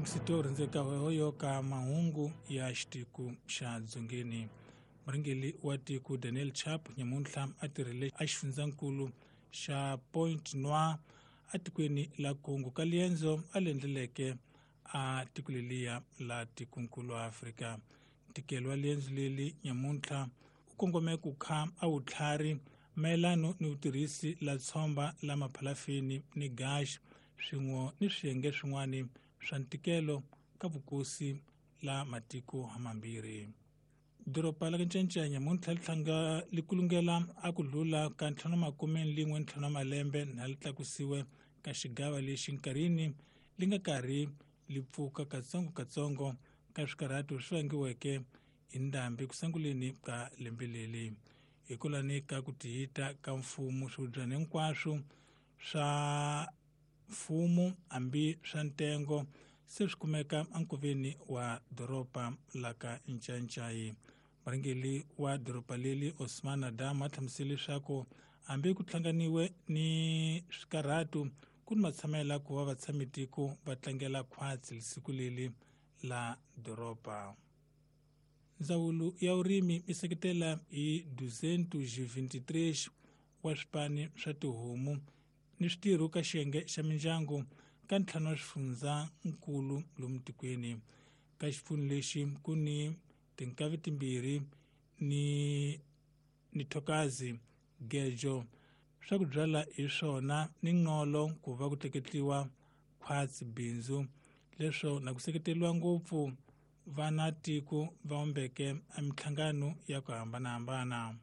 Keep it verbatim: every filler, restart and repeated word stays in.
Msito rhendzeka hoyo ka mahungu ya xitiku xa dzongeni. Murhangeri wa tiko Daniel Chapo nyamuntlha a tirhile a xifundzankulu xa Point Noir atikweni la Congo ka liendzo a le endleleke a tiko leliya la tikonkulu Afrika. Ntikelo wa liendzo leli nyamuntlha u kongome ku kha a wutlhari mayelano ni vutirhisi la tshomba la maphalafini ni gash swin'we ni swiyenge swin'wana swa ntikelo ka vukosi la matiko hamambirhi. Doroba la Ncancanya nyamuntlha li tlhanga li kulungela a ku dlula ka ntlhanu makume lin'we ntlhanu malembe na li tlakusiwe ka xigava lexi nkarhini li nga karhi li pfuka katsongo-katsongo ka swikarhato swi vangiweke hi ndhambi ku sunguleni ka lembe leli. Hikwalani ka ku tihita ka mfumo swihubyana hinkwaswo swa mfumo hambi swa ntengo se swi kumeka enkoveni wa doroba la ka Ncancai. Murhangeri wa doroba leli Osman Adam a hlamusele leswaku hambi ku hlanganiwe ni swikarhato ku ni matshamela ku va vatshamitiko va tlangela khwatsi siku leli la doroba. Ndzawulo ya vurimi yi seketela hi duzentos e vinte e três wa swipani swa tihomu ni switirho ka xiyenge xa mindyangu ka ntlhanu wa swifundzankulu lomu tikweni. Ka xipfuno lexi ku ni tinkavi timbirhi ni ni thokazi gejo swa ku byala hi swona ni nqolo ku va ku tleketliwa khwatsi bindzu leswo na ku seketeriwa ngopfu vana tiko va ombeke a minhlangano ya ku hambanahambana.